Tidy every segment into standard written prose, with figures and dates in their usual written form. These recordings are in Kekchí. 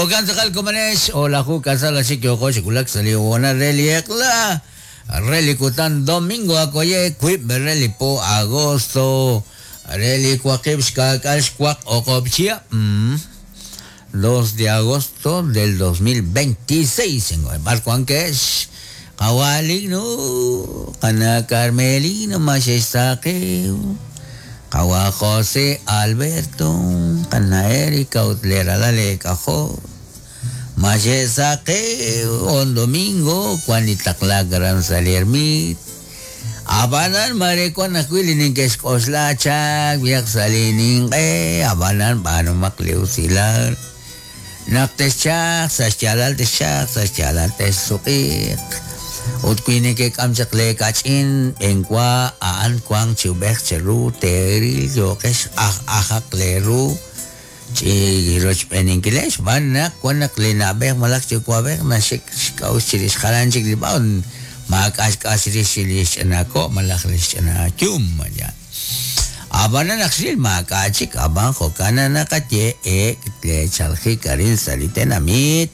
Jo'kan tz'aqal komonex, o'laju k'asal axik yooko chi wulak sa' li hoonal re li eq'la re li kutan domingo akoye wiib' re li po agosto re li waqib' xka'k'aal xwaq o'q'ob' chihab'. 2 de agosto del 2026. B'ar wankex qawa' Ligno, qana' Carmelino ma xe'xsaqew, qawa' José Alberto, qana' Erika ut le ralal eek'ajol ma xe'saqew on domingo wan li taqlaak aran sa' li ermit. Ab'anan maare wan ajwi' li neke'xk'oxla chaq b'ihaq sa' li ninq'e, ab'anan b'aanumaq li usilal naq texchaq sa' xyaalal texchaq sa' xyaalal texsuq'iiq. Ut wi nekek'am chaq lee kach'in b'enwa a'an wanq chi ub'ej cheru teeril yooqex aj ajaq lee ru chi rochb'eeninkileb' xb'aan naq wan naq li na'b'ej malaj yuwa'b'ej naxik xk'a'uxl chirix jalan chik li b'an maak'a' xk'as chirix li xch'ina ko' malaj li xch'ina yum. Ab'anan naq xril maak'a' chik, ab'an jo'kan naq naqaye ek' leechalajik arin sa' li tenamit,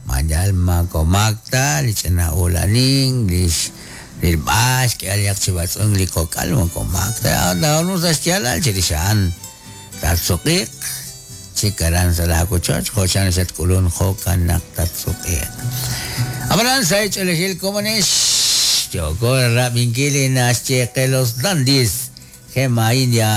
ma yal moko maak ta li ch'ina uulanin, li xrilb'al xk'ehal chi b'atz'unk li kok'al moko maak ta, taab'aanu sa' xyaalal chirix a'an tatsuq'iiq chik aran sa' laawochoch jo' chan xatk'ulunk jo'kan naq tatsuq'iiq. Ab'anan sa' ch'oolejil komonex yooko rab'inkil li naxye qe Los Dandis, Gema India.